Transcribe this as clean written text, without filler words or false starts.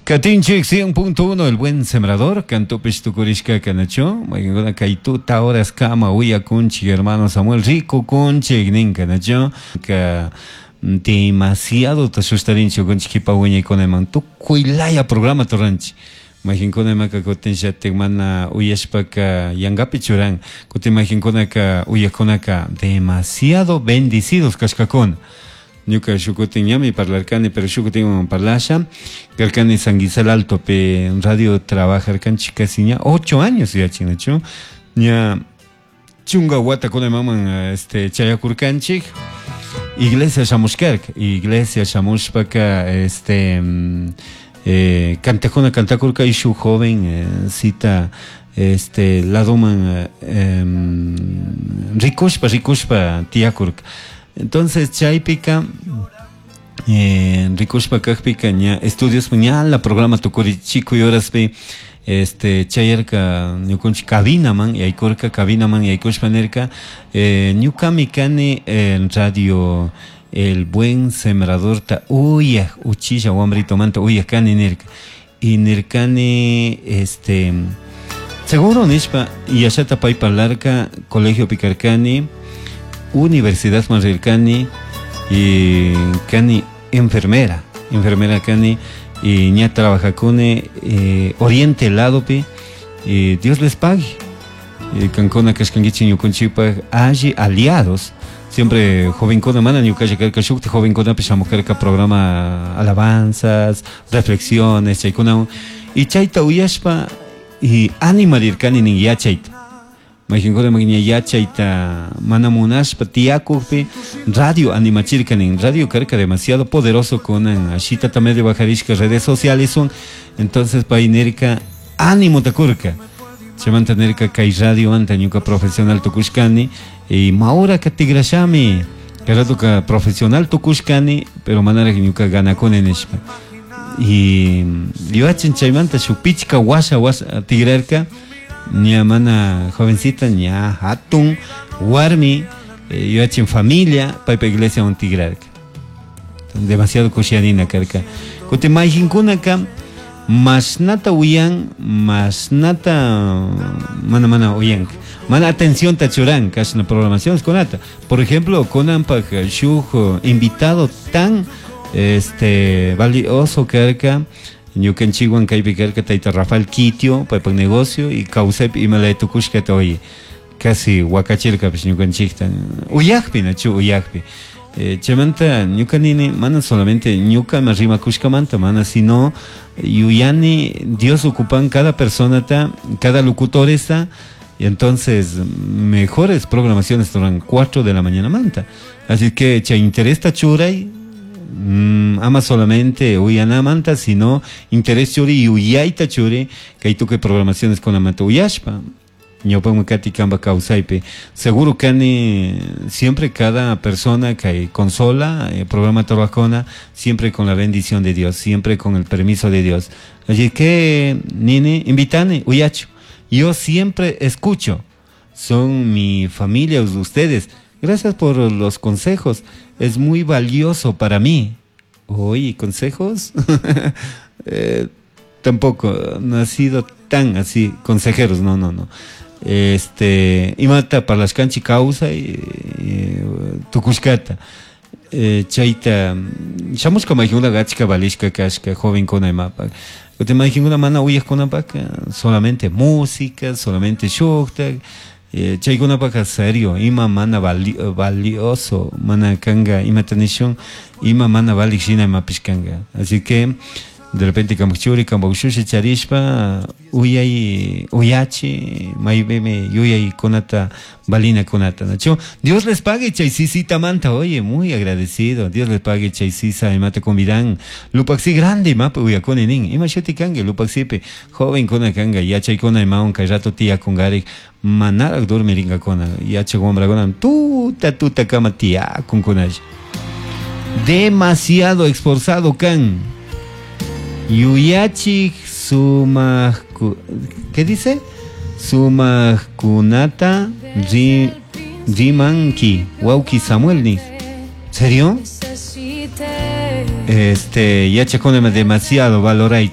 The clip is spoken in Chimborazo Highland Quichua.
Katinchik 100.1 El Buen Sembrador, cantopish tukurishka kanachu, mayqankuna kay tuta horas kama uyakunchik hermano Samuel Rico kunchik nin kanachu, ka demasiado tasustarinchik kunchik kipa wiñaykunaman tukuy laya programa turanchik. Mayqankuna imaka kutin llatik mana uyashpaka yankapi churan, kutin mayqankunaka uyaqkunaka demasiado bendecidos kashkakuna. Ñuka shukutin ñami parlarkani, pero shukutinwan parlasha, karkani San Gisel Altopi radio trabajarkanchik casi ña 8 años yachinachu, ña chunka watakuna imaman este chayakurkanchik, iglesia shamushkarka, iglesia shamushpaka este cantakuna cantakurka y shuk joven cita este ladoman rikushpa rikushpa tiyakurka. Entonces chaypika rikushpa kajpika ña estudios ña la programa tukuri chikuy horaspi este chayarka ñukunchik cabinaman yaykurka cabinaman yaykushpa nirka ñukami kani en radio El Buen Sembradorta uyaj uchilla wambritomanta uyaj kani nirka y nirkani este seguro nishpa yashata pay parlarka colegio pikarkani universidad man rirkani y kani enfermera, enfermera kani y ña trabajakuni oriente ladopi y Dios les pague. Y kankuna kashkankichik ñukanchikpaj alli aliados siempre jovencuna mana ñukalla karka shukti jovenkunapish shamukarka programa alabanzas, reflexiones chaykunawan y chayta uyashpa y animarirkani nin yachayta. Mayqankuna ña yachayta mana munashpa tiyakukpi radio animachirka nin, radio karka demasiado poderoso kunan ashitata medio bajarishka redes sociales son, entonces pay nirka ánimo takurka. Chaymanta nirka kay radio anta ñuka profesional tukushkani y mauraka tigrashami, kay ratoka profesional tukushkani, pero manaraj ñuka ganakuni nishpa. Y yuyachin chaymanta shuk pichka washa washa tigrarka, ña mana jovencita, ña hatun warmi, yuyachin familia, paypa iglesiawan tigrarka. Demasiado kushiyanina karka. Kutin mayqinkunaka mashnata uyan, mashnata mana mana uyanka, mana atencionta churan kashna programaciones kunata. Por ejemplo, kunanpak shuk invitado tan este valioso karka, ñukanchikwan kaypi karka tayta Rafael Quitio, paypak negocio y kawsaypi imalaya tukushkata oye, casi wakachirkapish ñukanchikta, uyakpi nachu uyakpi. Chaymanta ñuka nini mana solamente ñuka ima rimakushkamanta mana, sino yuyani Dios ocupan cada personata, cada locutoresta, y entonces mejores programaciones duran 4 de la mañana manta. Así que chay interesta churay, ama solamente uyanamanta, sino interés churi y uyayta churi, kay tukuy programaciones con amanta uyashpa. Ñawpakman kati kanpa kawsaypi. Seguro kani siempre cada persona que consola, programa trabajona, siempre con la bendición de Dios, siempre con el permiso de Dios. Así que, nini, invitane, uyacho. Yo siempre escucho. Son mi familia, ustedes. Gracias por los consejos. Es muy valioso para mí. Oye, ¿consejos? Tampoco, no ha sido tan así, consejeros, no, no, no. Este, imata parlashkanchik kawsay, tukushkata. Chayta, shamushka mayqinkunaka achka valishka kashka, jovenkuna imapak. Kutin mayqinkuna mana uyaqkunapak, solamente música, solamente shuktak, chaykunapaka serio, ima mana valioso, mana kanga, imata nishun, ima mana valik shina imapish kanga. Así que, de repente kampak churi, kampak ushushi charishpa, uyay, uyachi, maybeme yuyay kunata, valina kunata, nachu. Dios les pague chay sisita manta, oye, muy agradecido. Dios les pague chay sisa, imata convidan. Lupaxi grande, mapa uyakuni nin. Ima shuti kange, lupaxipe, joven kuna kanga, yachay kuna imaun, kay rato tía kungarik, manarak dormiringa kuna, yachay wamrakuna, tuta, tuta kama tía kunkunash. Demasiado esforzado kan. Yuyachik sumaq, ¿qué dice? Sumaqkunata rimanki, wauki Samuel ni. ¿Serio? Este, yachakuna demasiado valoray.